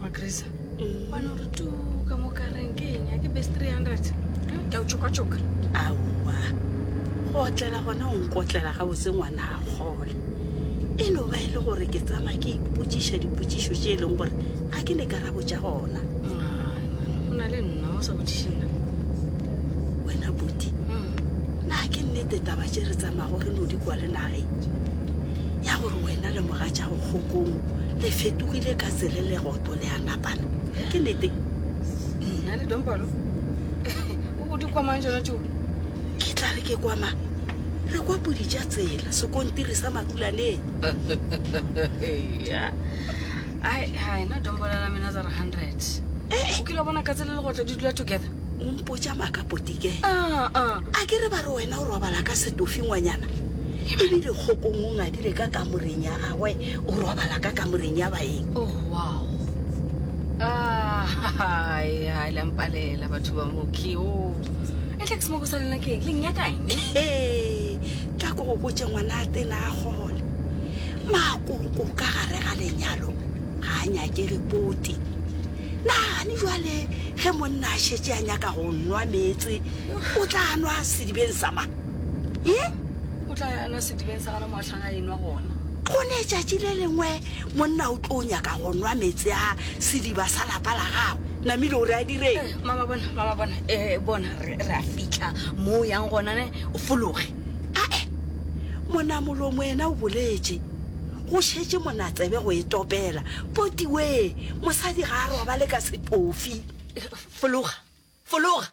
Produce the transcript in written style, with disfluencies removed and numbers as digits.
Magrisa wa no re tu ka mo kareng ke eng a ke best 300 ke a o tšoka-tšoka. Aowa, go otlela gona o nkotlela gabotse ngwana a kgole. E no ba e le gore ke tsama ke ipotšiša dipotšišo tše e leng gore ga ke ne karabo tša gona. Ai, man, o na le nna o sa botšiše nna. Wena Buti, na ke nnete taba tše re tsamago re no di kwa le nageng ya gore wena le mogatšago Kgokong le fetogile ka tsele legoto le a napana? Ke nnete? Nna le Dompalo? O di kwa mang tšona tšeo? Ke tla re ke kwa mang? Re kwa pudi tša tsela, sekontiri sa Makulaneng. Ya. Ai, hai, na Dompalo la mina tsa re 100. Eh, O kile wa bona katse le legotlo di dula together? O mpotša maaka Potike. Ah, ah. A ke re ba re wena o robala ka setofi ngwanyana? Ebile Kgokong o ngadile ka kamoreng ya gagwe, o robala ka kamoreng ya baeng. Oh, wow. Ah, hai, hai, la mpalela batho ba moki. Oh. E tla ke semoko sa lena ke eng? Le nnyaka eng? He, tla ko go botše ngwana a tena a kgole. Makoko ka gare ga lenyalo ga a nyakege poti. Nagane bjale ge monna a šetše a nyaka go nwa meetse, o tla nwa sedibeng sa mang? Ye? O tla nwa sedibeng sa gona mo a hlang a enwa gona. Go ne tšatši le lengwe monna o tlo nyaka go nwa meetse a sediba sa lapa la gagwe. Namile o re a direng? Eh, mama bona, mama bona, eh, bona, re, re a fihla mo o yang gona ne, o fologe. Ae, monamolomo yena o boletše. Go šetše monatsebe go e topela. Poti wee, mosadi ga a robale ka setofi. Fologa, fologa!